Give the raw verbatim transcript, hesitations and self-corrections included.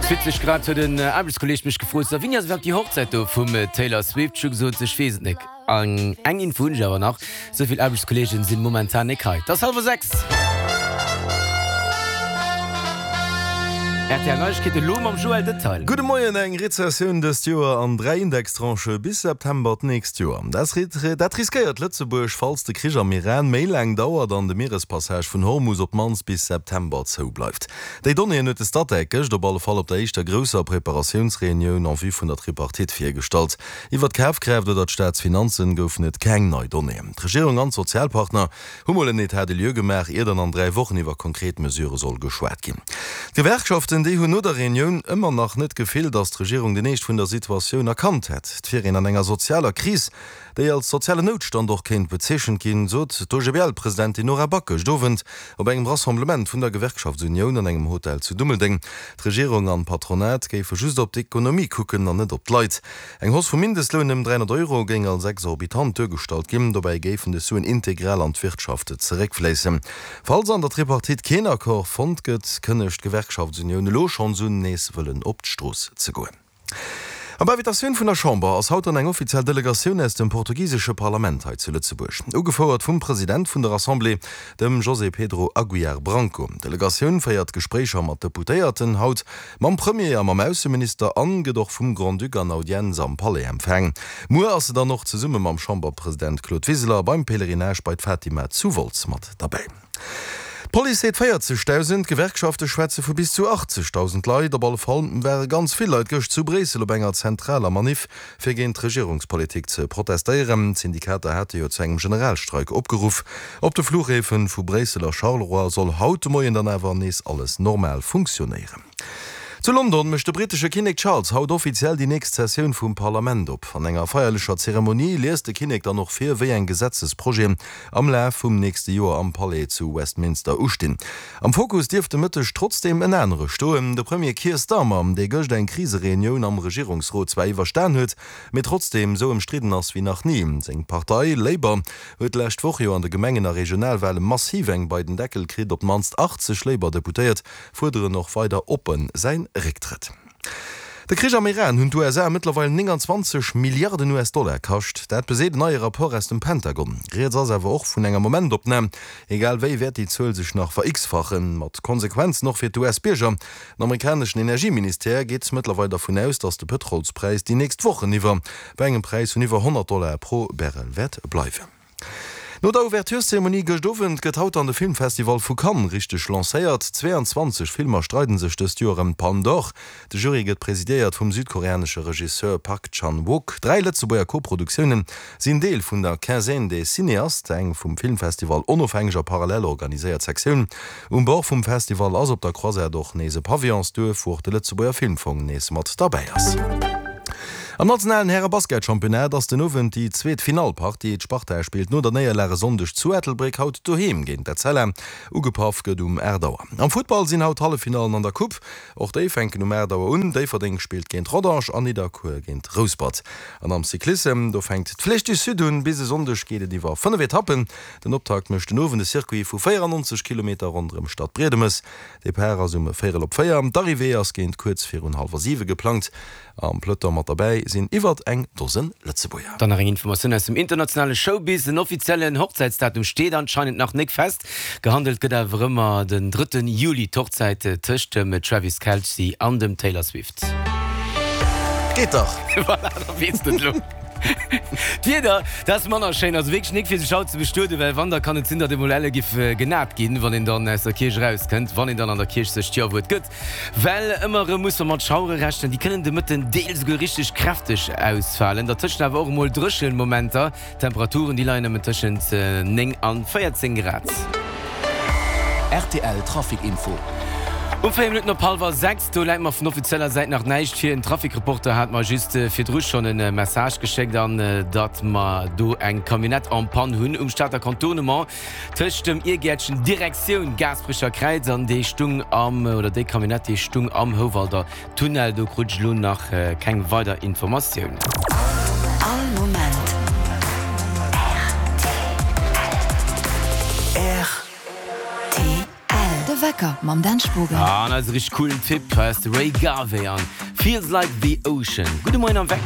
Ganz witzeg, grad huet en Aarbechtskolleeg mech gefrot, So, wéini ass iwwerhaapt déi Hochzäit do vum Taylor Swift? Ech hu gesot, ech weess et nek. An eng Info hunn ech awer nach, Sou vill Aarbechtskolleegen sinn momentan nek hei. Et ass hallwer sechs. Rtl Neiegkeete lo mam Joël Detail. Gudde Moien, Eng Rezessioun dëst Joer an dräi Indextranchë bis September d'nächst Joer. Dat riskéiert Lëtzebuerg, falls de Krich am Iran méi laang dauert an de Mierespassage vun Hormus op d'mannst bis September zou bleift. Déi Donnéeën huet de Statec gëscht op alle Fall op der éischter grousser Preparatiounsreunioun en vue vun der Tripartite virgestallt. Iwwer d'Kafkraaft oder d'Staatsfinanzen goufen et keng nei Donnéeën. D'Regierung an d'Sozialpartner hu mol en Etat des lieux gemaach, ier dann an dräi Wochen iwwer konkret Mesurë soll geschwat ginn. D'Gewerkschaften, déi hunn no der Reunioun ëmmer nach net d'Gefill, datt d'Regierung den Eescht vun der Situatioun erkannt hätt. Et wier een an enger sozialer Kris, déi als sozialen Noutstand och kéint bezeechent ginn, sot d'OGBL-Presidentin Nora Back gëscht Owend op engem Rassemblement vun der Gewerkschaftsunioun an engem Hotel zu Dummeldeng. D'Regierung an d'Patronat géife just op d'Ekonomie kucken an net op d'Leit. Eng Hausse vum Mindestloun ëm dräihonnert Euro géing als exorbitant duergestallt ginn. Dobäi géifen des Suen integral an d'Wirtschaft zeréckfléissen. Falls an der Tripartite keen Accord fonnt gëtt, kënnegt d'Gewerkschaftsunioun elo schonns un, nees wëllen op d'Strooss ze goen. Op Invitatioun vun der Chamber ass haut dann eng offiziell Delegatioun aus dem portugisesche Parlament hei zu Lëtzebuerg, ugefouert vum President vun der Assemblée, dem José Pedro Aguiar Branco. D'Delegatioun féiert Gespréicher mat Deputéierten, haut mam Premier a mam Ausseminister an gëtt och vum Grand-Duc an Audienz am Palais empfaang. Muer ass se dann och zesumme mam Chamberpresident Claude Wiseler beim Pèlerinage bei d'Fatima zu Wolz mat derbäi. D'Police seet véierzegdausend, d'Gewerkschafte schwätze vu bis zu achtzegdausend Leit. Op alle Fall ware ganz vill Leit gëscht zu Bréissel op enger zentraler Maniff, fir géint d'Regierungspolitik ze protestéieren. D'Syndikater hate jo zu engem Generalstreik opgeruff. Op de Fluchhäfe vu Bréissel a Charleroi soll haut de Moien dann awer nees alles normal funktionéieren. Zu London mécht de brittesche Kinnek Charles haut offiziell déi nächst Sessioun vum Parlament op. An enger feierlecher Zeremonie liest de Kinnek dann och vir, wéi eng Gesetzesprojeten am Laf vum nächste Joer am Palais zu Westminster ustinn. Am Fokus dierft de Mëtteg trotzdeem en anere stoen, de Premier Keir Starmer, dee gëscht eng Krisereunioun am Regierungsrot zwar iwwerstan huet, mee trotzdeem esou ëmstridden ass wéi nach ni. Seng Partei Labour huet d'lescht Woch jo an de Gemengen a Regionalwale massiv eng bei den Deckel kritt. Op d'mannst achtzeg Labour-Deputéiert fuerderen och weider oppen säin Récktrëtt. De Krich am Iran hunn d'U S A mëttlerweil nénganzwanzeg Milliarden U S-Dollar kascht. Dat beseet en neie Rapport aus dem Pentagon. Rieds ass awer och vun enger Momentopnam. Egal wéi wäert déi Zuel sech nach ver-x-fachen, mat Konsequenzen och fir d'U S-Bierger. Den amerikaneschen Energieministère geet mëttlerweil dervun aus, datt de Pëtrolspräis déi nächst Wochen iwwer bei engem Präis vun iwwer honnert Dollar pro Barrel wäert bleiwen. No der Ouvertureszeremonie gëscht Owend gëtt haut dann de Filmfestival vu Cannes richteg lancéiert. Zweeanzwanzeg Filmer streiden sech dëst Joer ëm d'Palme d'Or. De Jury gëtt presidéiert vum südkoreanesche Regisseur Park Chan-wook. Dräi Lëtzebuerger Koproduktioune sinn Deel vun der Quinzaine des Cinéastes, eng vum Filmfestival onofhängeg a parallel organiséiert Sektioun. Um Bord vum Festival ass op der Croisette och nees e Pavillonsduerf, wou och de Lëtzebuerger Filmfong nees mat derbäi ass. Am nationalen Häre-Basketchampionnat ass den Owend déi zweet Finallpartie. D'Sparta spillt no der Néierlag e Sonndeg zu Ettelbréck haut doheem géint d'Etzella. Ugepaff gëtt um aacht Auer. Am Futtball sinn haut d'Halleffinallen an der Coupe. Och déi fänken um aacht Auer un. Déifferdeng spillt géint Rodange an Nidderkuer géint Rouspert. An am Cyclissem, do fänkt d'Flèche du Sud un. Bis e Sonndeg geet et iwwer fënnef Etappen. Den Optakt mécht den Owend e Circuit vu véierannonzeg Kilometer ronderëm Stadbriedemes. Depart ass um véierel op véier, d'Arrivée ass géint kuerz virun hallwer siwe geplangt. Am Peloton mat derbäi sinn iwwert eng Dosen Lëtzebuerger. Dann nach eng Informatioun aus dem internationale Showbiz, Den offiziellen Hochzäitsdatum steet anscheinend nach nik fest. Gehandelt gëtt awer ëmmer den drëtten Juli, d'Hochzäit tëscht dem Travis Kelce an dem Taylor Swift. Geet dach! Voilà, da weess de et elo. D'Wieder, dat ass manner schéin, also wierklech nik fir sech haut ze bestueden, well wann, da kann et sinn, datt emol elle giff genat ginn, wann een dann aus der Kierch erauskënnt, wann een dann an der Kierch sech d'Jawuert gëtt. Well ëmmer erëm muss mer mat Schauere rechnen, déi kënnen de Mëtten deels esouguer richteg kräfteg ausfalen, dertëschent awer och emol dréchen Momenter. D'Temperaturen, déi leien nëmmen tëschent néng an véierzéng Grad. Rtl Trafic Info. Um véier Minutten op hallwer sechs, do läit mer vun offizieller Säit nach näischt vir. En Trafic-Reporter hat mer just virdru schonn e Message geschéckt an datt mer do eng Camionnette en panne hunn um Stater Contournement tëscht dem Iergäertchen Direktioun Gaasperecher Kräiz an déi stung am, oder déi Camionnette déi stung am Houwalder Tunnel. Do krut ech elo nach keng weider Informatioun. All Moment rtl. De Wecker. Wecker mam Dan Spogen. An eise richteg coolen Typ, hei ass de Ray Garvey an Feels Like The Ocean. Gudde Moien am Wecker.